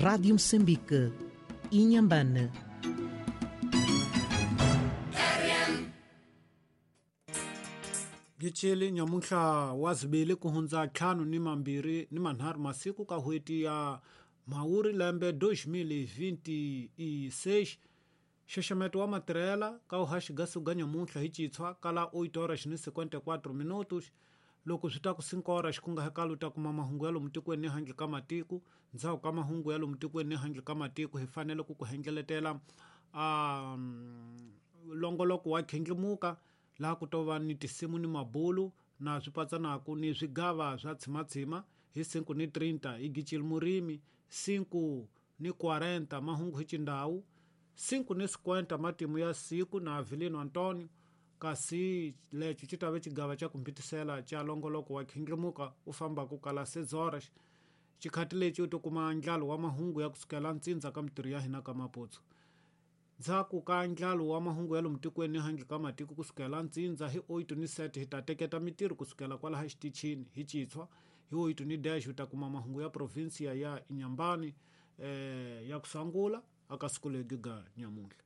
Rádio Moçambique, Inhambane. Gichili nyamuntlha wa zibili ku hundza ntlhanu ni mambirhi ni manharhu masiku ka n'hweti ya Mhawuri lembe 2026. Nxaxameto wa matirhela ka uhaxi gasuga nyamuntlha hi citshwa kala 8 horas ni 54 minutos. Loko swi ta ku 5 horas ku nga hekala u ta kuma mahungu ya lomu tikweni ni handle ka matiko. Ndzhaku ka mahungu ya lomu tikweni ni handle ka matiko hi fanele ku ku hengeletela longoloko wa khindlimuka laha ku to va ni tinsimu ni mabulu na swi patsanaku ni swigava swa tshimatshima hi 5 ni 30 hi Gicil Murimi, 5 ni 40 mahungu hi Chindhawu, 5 ni 50 matimu ya siku na Avelino Antonio, kasi lexo xi ta ve xigava xa ku mpitisela xa longoloko wa khindlimuka u fambaku kala 6 horas. Xikhati lexi u to kuma ndlalo wa mahungu ya kusukela ntsindza ka mitirho ya hina ka Maputsu. Ndzhaku ka ndlalo wa mahungu ya lomu tikweni ni handle ka matiko kusukela ntsindza hi 8 ni 7 hi ta teketa mitirho kusukela kwalaha xitichini hi citshwa hi 8 ni dash u ta kuma mahungu ya provinsia ya Inhambane ya kusangula aka siku legi ga nyamuntlha.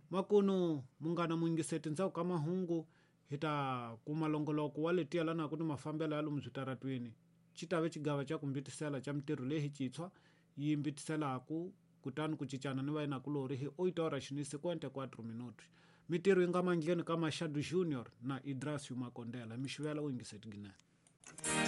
Makunu munghana muyingiseti ndzhaku ka mahungu hi ta kuma longoloko wa leti yelanaka ni mafambelo ya lomu switaratwini. Xi ta ve xigava xa ku mbitisela xa mitirho leyi hi citshwa yi mbitiselaku kutani ku cincana ni vayinakulorhi hi 8 horas ni 54 minutos. Mitirho yi nga mandleni ka Machado Junior na Idrasio Makondela. Mixivela u yingiseti ginene.